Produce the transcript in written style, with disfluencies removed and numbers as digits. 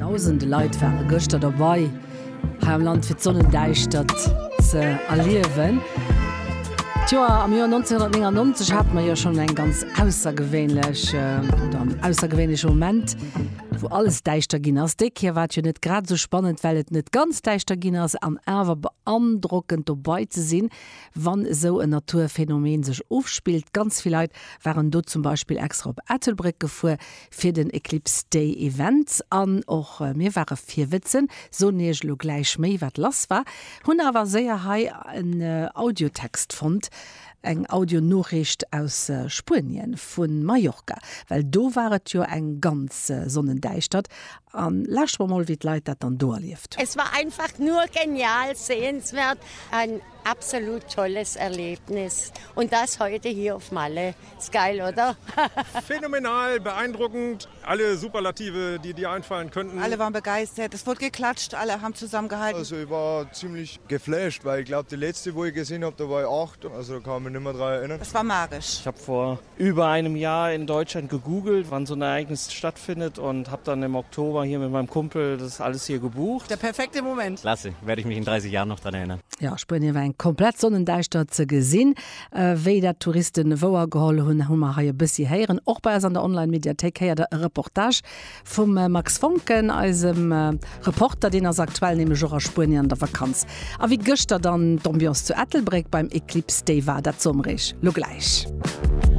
Dausende Leit ware gëschter derbei hei am Land fir d'Sonnendäischtert ze erliewen. D'Joer, am Joer 1999 hate mer jo schonn eng ganz aussergewéinlech oder en aussergewéinleche Moment, wou alles däischter ginn ass. Déi Kéier war et jo net grad esou spannend, well et net ganz däischter ginn ass an awer beandrockend dobei ze sinn, wann esou en Naturphänomen sech ofspillt. Ganz vill Leit waren do zum Beispill extra op Ettelbréck gefuer fir den Eclipse Day Event an och mir ware virwëtzen, soen iech elo gläich méi wat lass war, hunn awer séier hei en Audiotext fonnt, eng Audionoriicht aus Spuenien, vu Mallorca, well do war et jo eng ganz Sonnendäischtert an lauschtert mer mol wéi d'Leit dat dann do erlieft hunn. Es war einfach nur genial, sehenswert, ein absolut tolles Erlebnis und das heute hier auf Malle. Ist geil, oder? Phänomenal, beeindruckend, alle Superlative, die dir einfallen könnten. Alle waren begeistert, es wurde geklatscht, alle haben zusammengehalten. Also ich war ziemlich geflasht, weil ich glaube die letzte, wo ich gesehen habe, da war ich 8, also da kann ich mich nicht mehr dran erinnern. Es war magisch. Ich habe vor über einem Jahr in Deutschland gegoogelt, wann so ein Ereignis stattfindet und habe dann im Oktober hier mit meinem Kumpel das alles hier gebucht. Der perfekte Moment. Klasse, werde ich mich in 30 Jahren noch dran erinnern. Ja, a Spuenien war eng komplett Sonnendäischtert ze gesinn. Wéi dat d'Touristen wouer geholl hunn, hu mer hei e bëssi héieren. Och bei eis an der Online-Mediathéik héiert der e Reportage vum Max Foncken, eisem Reporter. Deen ass aktuell nämlech och a Spuenien an der Vakanz. A wéi gëschter dann d'Ambiance zu Ettelbréck beim Eclipse Day war, dat soe mer iech lo gläich.